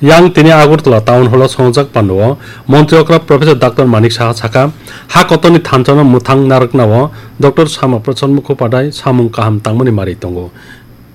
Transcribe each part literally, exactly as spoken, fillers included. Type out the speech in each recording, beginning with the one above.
Yang tini Agartala Town Hall o swngjak pandao Montri okra Professor Doctor Manik Saha saka, ha kotorni thansa no mwthang narwknao Doctor Sama Prasad Mukhopadhyay samung kaham tangmani mari tongo.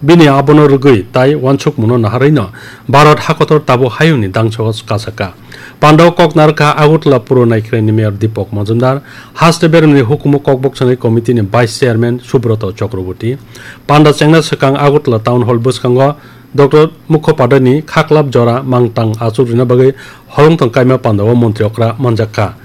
Bini abono rwgwi tai uansukmungno naharwi no Bharat hakotor tabuk hayungni dangsogo kasaka. Pandao kok narwkha Agartala Puro Naikhwraini Mayor Deepak Majumdar, haste beremni hukumu kokboksanai committee ni Vice Chairman Subroto Chakraborty. Panda chengna swkang Agartala Town Hall bwskango Doctor Mukhopadhyay ni khaklap jora mangtang achuk rwna bagwi holongthong kaima pandao montri okra manjakha.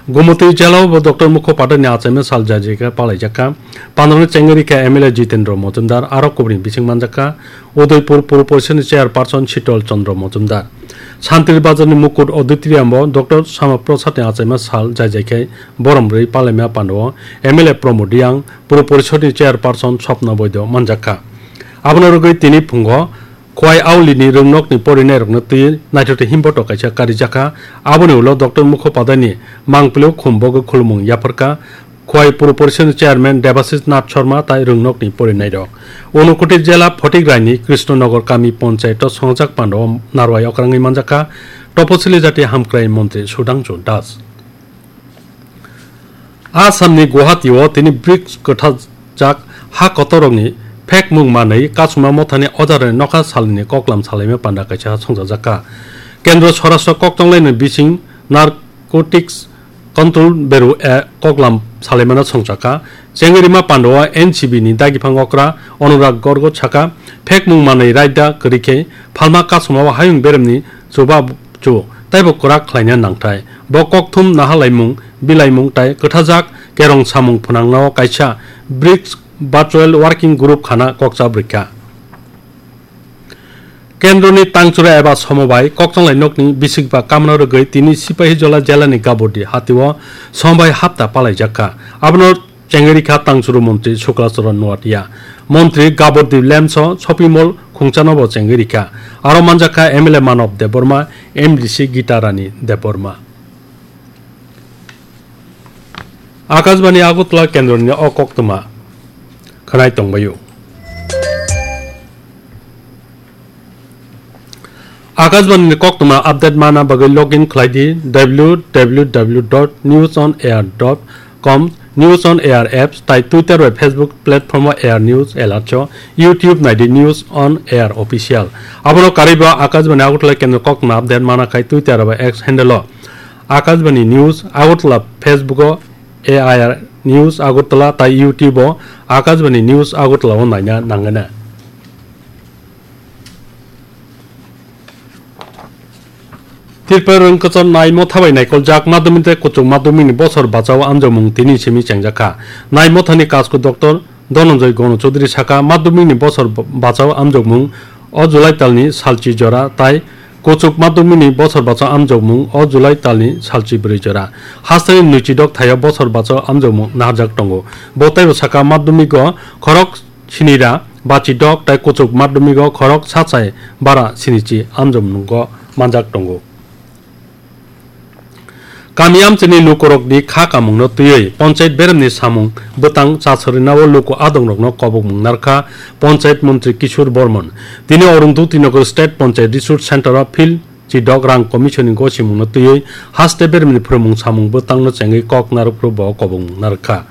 Gumutwi jela o bo Doctor Mukhopadhyay ni achaima sal jajika palaijakha. Pandao no chengwi rikha M L A Jitendra Majumdar, aro kubuni bising manjakha Udaipur Puro Porishad ni Chairperson Shitol Chandra Majumdar. Santri Bazar ni Mukut Auditorium o Doctor Sama Prasad ni achaima sal jajaikhai borom rwi palaima pandao M L A Pramod Reang, Puro Porishad ni Chairperson Swapna Boido manjakha. Abono rwgwi tini phungo Khwai Auli ni rwngnokni porinairokno twi naithothai himboto kaisa karijakha. Aboni ulo Doctor Mukhopadhyay ni mangpili o khum bogwi khulumung yapharkha Khwai Puro Porishad ni Chairman Debashish Nath Sharma tai rwngnokni porinairok. Unakoti jela Photik Raini Krishnanagar kami ponchayat o swngjak pandao narwai okrangwi manjakha Toposili Jati Hamkrai Montri Sudhangshu Das. Asamni Guwahati o tini brics kwthajak ha kotorrokni phekmung manwi Kasuma Mothani Ojarani nokha salini koklam salaima panda kaisa songchajakha. Kendro Swarashtra Kokchanglaini bising Narcotics Control Bureau a koklam salaimano songchakha. Chengwi rima pandao N C B ni dagiphang okra Anurag Gorgo saka, phekmung manwi raida kwrwi khe phalma Kasuma o hayung beremni chuba chu taibo kwrak khlaina nangthai. Bo kokthum nahalaimung, bilaimung tai kwthajak kerong samung phwnangnao kaisa brics Virtual Working Group khana kokcha bwrwikha. Kendroni tangchura eba somobai kokchanglai nokni bisikba kamna rwgwi tini Sipahijola jelani Gabordi hatio somobai hapta palaijakha. Abono chengwi rikha tangchuru montri Sukla Charan Noatia. Montri Gabordi Lamps o shopping mall khungchanobo chengwi rikha. Aro manjakha M L A Manob Debbarma, M D C Gita Rani Debbarma. Akashbani Agartala kendroni o koktwma khwnai tongbaio. Akashbani ni koktwma update mana bagwi login khlai di W W W dot news on air dot com, News on Air apps tai Twitter bai Facebook platform o Air News Alerts o, YouTube nai di News on Air Official. Abono karwi bo Akashbani Agartala kendro koktwma update mana khai Twitter bai X handle o Akashbani News Agartala, Facebook o A I R News Agartala tai YouTube o Akashbani News Agartala o naina nangana. Tripura rwngkwchar nai motha bai naikoljak madhyamik tei kuchuk madhyamik ni bosor bachao amjokmung tini simi chengjakha. Nai mothani kasku Doctor Dhananjay Gano Chaudhary saka, madhyamik ni bosor bachao amjokmung o July talni salchi jora tai kuchuk madhyamik ni bosor bachao amjokmung o July talni salchi bwrwi jora. Hasteni nwichidok thaio bosor bachao amjokmung naharjak tongo. Bo teibo saka, madhyamik o khorok sinira bachidok tai kuchuk madhyamik o khorok sachai bara sinichi amjokmungo manjak tongo. Kami amchaini lukurokni kha kamungno twiwi ponchayat beremni samung bwtang chasarina o luku adongrokno kobokmung narkha ponchayat montri Kishore Bormon. Tini Arundhati Nagar State Ponchayat Resource Center o field chidok rang commission ni gosimungno twiwi haste beremni phwrwngmung samung bwtangno chengwi kok narwkphru bo kobokmung narwkha.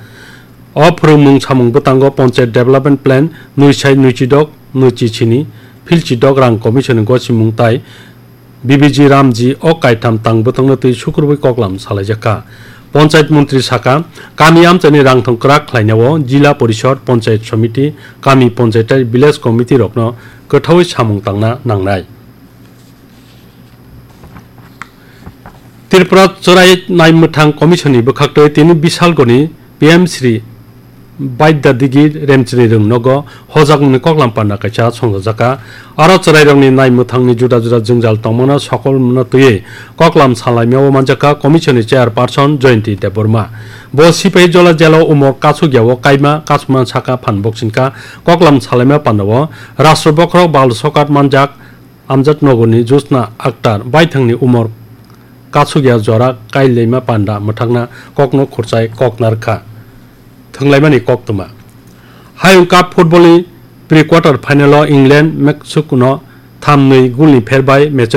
O phwrwngmung samung bwtango Ponchayat Development Plan nwi sai nwi chidok nwi chi sini, field chidok rang commission ni gosimung tai B B G Ramji o kaitham tang bwtangno twi sukrubwi koklam salaijakha. Ponchayat montri saka, kami amchaini rangthong kwrak khlainao Jila Porishad, Ponchayat Samiti, kami ponchayat tai village committee rokno kwthaui samung tangna nangnai. Tripura Chwrai Naimwthang Commission ni bwkhaktwi tini Bisalgoni P M Shri Baidya Digi Remchini rwng nogo hojakmungni koklam panda kaisa songchajakha. Aro chwrairokni naimwthangni juda juda jwngjal tongmano sokolno twiwi koklam salaimao manjakha Commission ni Chairperson Jayanti Debbarma. Bo Sipahijola jela o umor kachukyao kaima kasuma saka phan boksingkha. Koklam salaima pandao Rashtra Bokhorok Bal Sokat manjak Amjad Nagarni Jyotsna Akhtar baithangni umor kasugya jora kailaima panda mwthakna kokno khurchai kok narwkha. Thwnglaimani koktwma. Hayung Cup football ni pre-quarter final o England Mexico no tham nwi goal ni pher bai match